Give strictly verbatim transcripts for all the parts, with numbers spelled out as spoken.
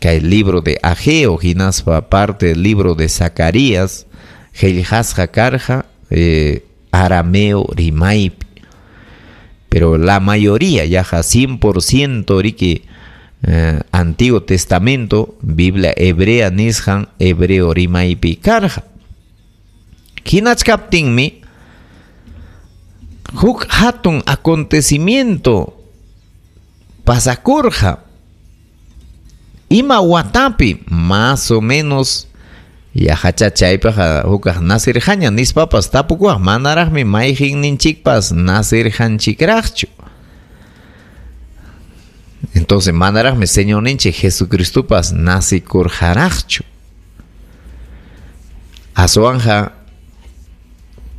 Kay libro de Ageo hinaspa parte del libro de Zacarías qillqasqa karqa eh, arameo rimaypi. Pero la mayoría, yaqa cien por ciento riki eh, Antiguo Testamento, Biblia hebrea nisqan hebreo rimaypi karqa. Hinachkaptinmi huk hatun acontecimiento pasakurqa. Ima watapi más o menos yaqa chaypaqa hukaq nasirqaña nispapas tapukuwaq manaraqmi mayqinninchikpas nasirqanchikraqchu. Entonces manaraqmi Señorninchik Jesucristopas nasikurqaraqchu. Aswanja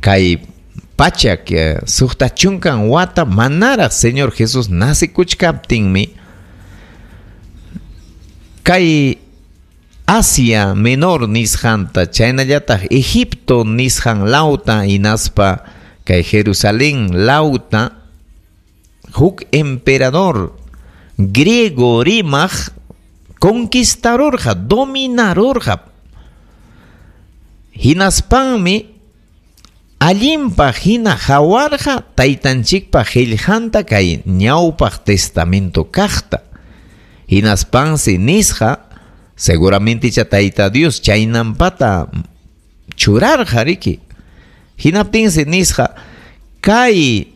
kay pachak suqta chunkan wata manaraq Señor Jesús nasikuchkaptinmi kay Asia Menor nisqanta chaynallataq Egipto nisqan lawta hinaspa kay Jerusalén lawta huk emperador griego rimaq conquistarurqa, dominarurqa. Hinaspanmi allinpaq hina hawarqa taytanchikpa qillqanta kay ñawpaq testamento kaqta. Hinaspansi nisqa seguramente cha tayta Dios chaynampata churarqa riki. Hinaptinsi nisqa kay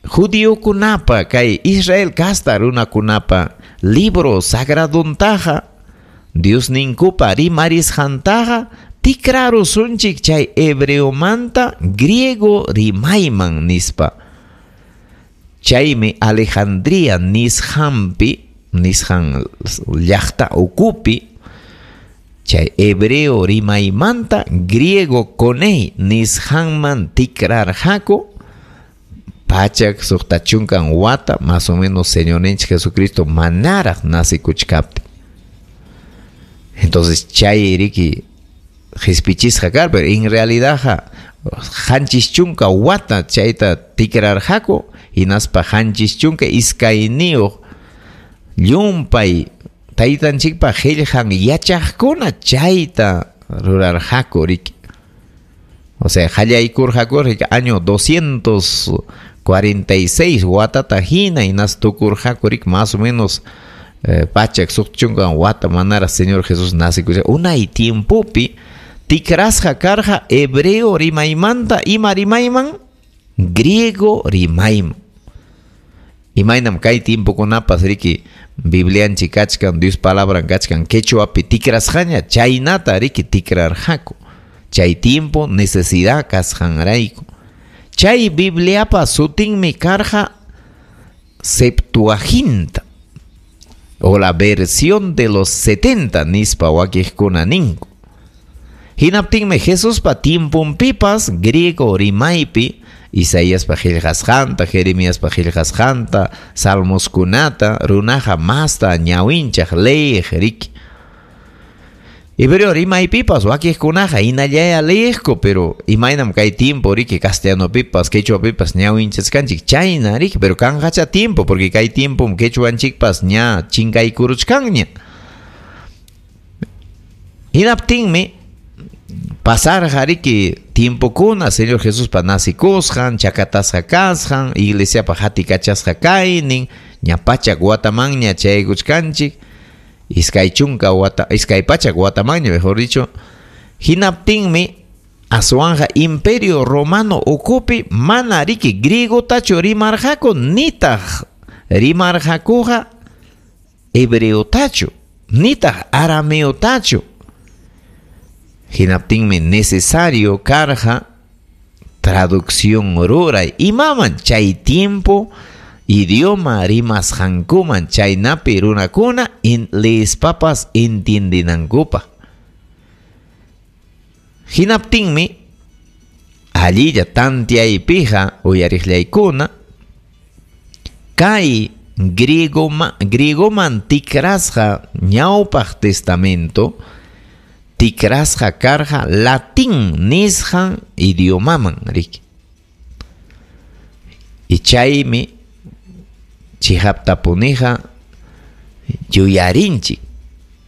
judiokunapa kay Israel kasta runakunapa libro sagraduntaqa Dios ninkupa rimarisqantaqa tikrarusunchik chay hebreomanta griego rimayman nispa. Chaymi Alejandría nisqanpi nisqan llaqta ukupi chay hebreo rimaymanta griego konei nisqanman tikrarqaku pachak suqta chunkan wata más o menos Señorninchik Jesucristo manaraq nasikuchkaptin. Entonces chay riki qhispichisqa kar, pero en realidad qanchis chunka wata chayta tikrarqaku hinaspa qanchis chunka iskayniyuq llumpay taytanchikpa qillqan yachaqkuna chayta rurarqaku riki. O sea, qallaykurqaku riki año doscientos cuarenta y seis watata hina hinas tukurqaku riki más o menos eh, pachak suqta chunka wata manara Señor Jesús nasikusqa. Unay tiempopi tikrasqa karqa hebreo rimaymanta ima rimayman griego rimayman. Imaynam kay tiempokunapas riki Biblianchik kachkan, Dios palabran kachkan quechuapi tikrasqaña chaynata riki tikrarqaku. Chay tiempo necesidad kasqanrayku. Chay Bibliapa sutinmi karqa Septuaginta o la versión de los setenta nispa wakiqkuna ninku. Hinaptinmi Jesuspa tiemponpipas griego rimaypi Isaíaspa qillqasqanta, Jeremiaspa qillqasqanta, Salmoskunata runaqa masta ñawinchaq leyiq riki. Hebreo rimaypipas wakiqkunaqa hinallaya leyiqku, pero imaynam kay tiempo riki castellanopipas, quechuapipas ñawinchasqanchik chayna riki, pero kanqacha tiempo porque kay tiempom quechuanchikpas ña chinkaykuruchkanña. Hinaptinmi pasarqa riki tiempokuna Señor Jesuspa nasikusqan, chakatasqa kasqan, iglesiapa hatikachasqa kaynin, ña pachak watamanña chaykuchkanchik, iskay chunka wata, iskay pachak watamanña, mejor dicho. Hinaptinmi aswanja imperio romano ukupi mana riki griegotachu rimarqaku nitaq rimarqakuqa hebreotachu nitaq arameotachu. Hinaptinmi necesario karqa traducción ruray imaman chay tiempo idioma rimasqankuman chaynapi runakuna in leespapas entiendinankupaq. Hinaptinmi allilla tantiaypiqa uyariqllaykuna kay griegoma, griegoman tikrasqa ñawpaq testamento tikrasqa karqa latín nisqan idiomaman riki. Y chaymi chihaptapuniqa yuyarinchik